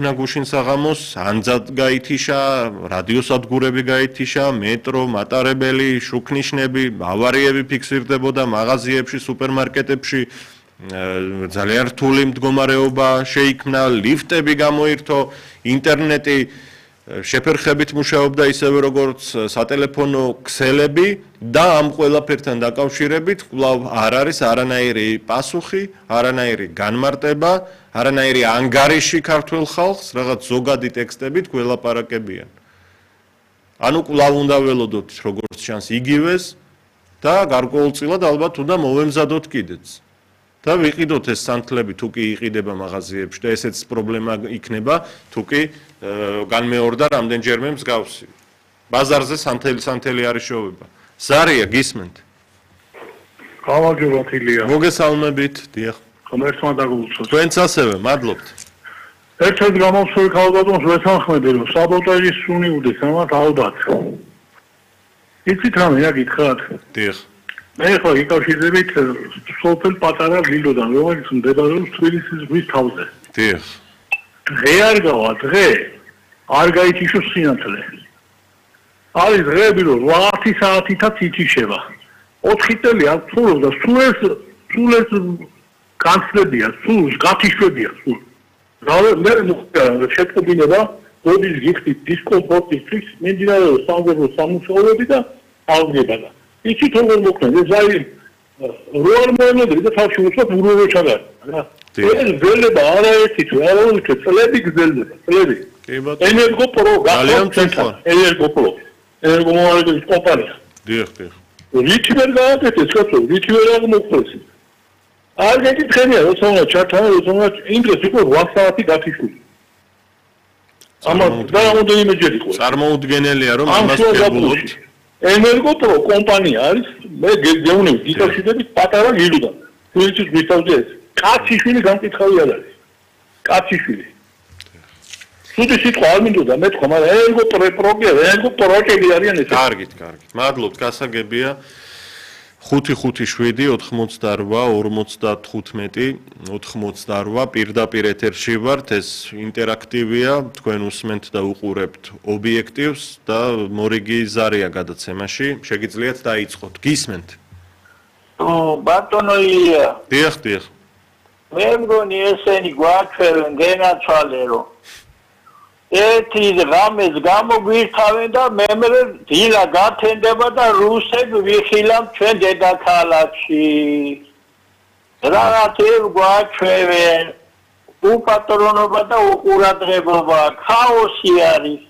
გუშინ საღამოს ანძად გაითიშა, რადიოსადგურები გაითიშა, მეტრო, მატარებელი, შუქნიშნები, ავარიები ფიქსირდებოდა მაღაზიებში, სუპერმარკეტებში, ძალიან რთული მდგომარეობა შეიქმნა, ლიფტები გამოირთო, ინტერნეტი შეფერხებით მუშაობდა ისევე როგორც სატელეფონო ქსელები და ამ ყველაფერთან დაკავშირებით კვლავ არ არის არანაირი პასუხი, არანაირი განმარტება, არანაირი ანგარიში ქართულ ხალხს, რაღაც ზოგადი ტექსტებით გველაპარაკებიან. ანუ კვლავ უნდა ველოდოთ როგორც ჩანს იგივეს და გარკვეულწილად ალბათ უნდა მოვემზადოთ კიდეც. და ვიყიდოთ ეს სანთლები თუ კი იყიდება მაღაზიებში და ესეც პრობლემა იქნება თუ კი განმეორდა რამდენჯერმე მსგავსი. ბაზარზე სანთელი არის შოვება. ზარია გისმენთ? გამარჯობა თილია. მოგესალმებით, დიახ. ღმერთმა დაგულოცოთ. თქვენც ასევე, მადლობთ. ერთ-ერთ გამოსული ქალბატონს ვეთანხმები, რომ საბოტაჟის სუნი უდეს, ამათ ალბათ. იცით რამე რა გითხრათ? დიახ. მე ხო იკავშირდებით სოფელ პატარა ლილოდან, რომელიც მდებარეობს თბილისის ზღვის თავზე. დიახ. დღე არ გავა, დღე არ გაითიშოს სინათლე. არის დღეები, რომ 8 საათითაც ითიშება. 4 წელი აქ ცხოვრობს და სულ ეს განცდებია, სულ გათიშვებია, სულ. მე შეტყობინება, როდის გიხდით დისკომფორტისთვის, მიმდინარეობს სამგებრო სამუშაოები და ალგებადა. იცით როგორ მოხდა, ეს არის რო არ მოემედრე და თავში უცბად უროვე ჩაგარ. ეს გზელება არაერთი თუ არაერთი წლები გზელდება, წლები. ენერგოპრო გახდა, ენერგოპრო. ენერგომომარაგების კომპანია. დიახ, დიახ. რითი ვერ გააკეთეს, კაცო, რითი ვერ აღმოხდეს. არ გეკითხებია, როცა უნდა ჩართანა, როცა უნდა ინგრესი იყო 8 საათი გათიშვილი. ამას და რამდენიმე ჯერ იყო. წარმოუდგენელია რომ ამას გებულობთ. ენერგოპრო კომპანია არის, მე გეუბნები, იკავშირდებით პატარა ლილოდან. თბილისის ზღვის თავზე ეს. კაციშვილი გამკითხავი არ არის. კაციშვილი. სუდი სიტყვა არ მინდოდა მეთქვა, მაგრამ ენერგოპროექტი არიან ეს. კარგით, კარგით. მადლობთ, გასაგებია. 557 88 55 88 პირდაპირ ეთერში ვართ, ეს ინტერაქტივია, თქვენ უსმენთ და უყურებთ ობიექტივს და მორიგი ზარია გადაცემაში, შეგიძლიათ დაიწყოთ. გისმენთ? ბატონო ილია. დიახ, დიახ. მე მგონი ესენი გვაჩვევენ გენაცვალე რომ ერთი ღამეს გამოგვირთავენ და მემრე დილა გათენდება და რუსები ვიხილავთ ჩვენ დედაქალაქში. რაღაც გვაჩვევენ, უპატრონობა და უყურადღებობა, ქაოსი არის.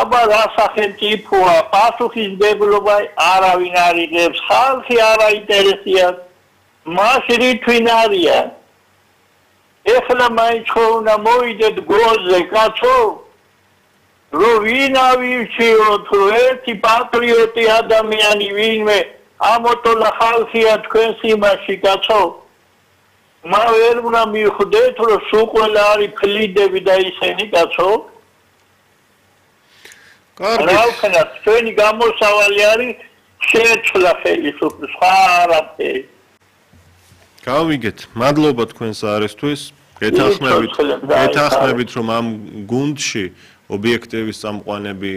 აბა რა სახელმწიფოა, პასუხისმგებლობა არავინ არ იღებს, ხალხი არ აინტერესებს, მაშინ რითვინ არიან. ეხლა მაინც ხო უნდა მოვიდეთ გოზე, კაცო, რომ ვინ ავირჩიოთ, რომ ერთი პატრიოტი ადამიანი ვინმე ამოტოლა ხალხია თქვენს იმაში, კაცო. მა ვერ უნდა მიხვდეთ, რომ სულ ყველა არის ფლიდები და ისენი, კაცო. კარგი. რა ვქნათ, თქვენი გამოსავალი არის შეცვლა ხელისუფლების, სხვა არაფერი. გავიგეთ. მადლობა თქვენს არისთვის. გეთანხმებით რომ ამ გუნდში ობიექტივის წამყვანები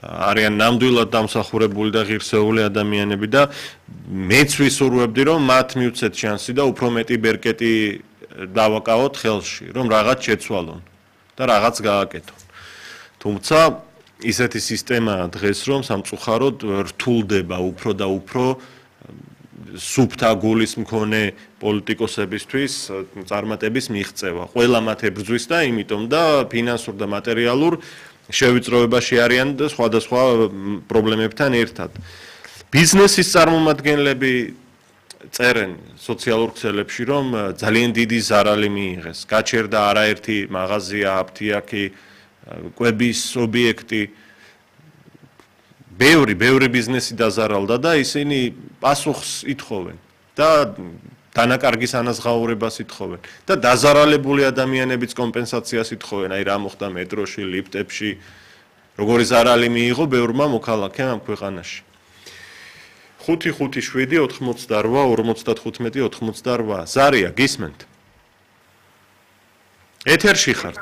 არიან ნამდვილად დამსახურებული და ღირსეული ადამიანები და მეც ვისურვებდი რომ მათ მიუცეთ შანსი და უფრო მეტი ბერკეტი დავაკავოთ ხელში, რომ რაღაც შეცვალონ და რაღაც გააკეთონ. თუმცა ისეთი სისტემაა დღეს რომ სამწუხაროდ რთულდება უფრო და უფრო სუფთა გულის მქონე პოლიტიკოსებისთვის წარმატების მიღწევა. ყველა მათ ებრძვის და იმიტომ და ფინანსურ და მატერიალურ შევიწროებაში არიან და სხვადასხვა პრობლემებთან ერთად. ბიზნესის წარმომადგენლები წერენ სოციალურ ქსელებში, რომ ძალიან დიდი ზარალი მიიღეს. გაჩერდა არაერთი მაღაზია, აფთიაქი, კვების ობიექტი. ბევრი ბიზნესი დაზარალდა და ისინი პასუხს ითხოვენ და დანაკარგის ანაზღაურებას ითხოვენ და დაზარალებული ადამიანებიც კომპენსაციას ითხოვენ, აი რა მოხდა მეტროში, ლიფტებში, როგორი ზარალი მიიღო ბევრმა მოქალაქემ ამ ქვეყანაში. 557 88 55 88 ზარია, გისმენთ? ეთერში ხართ.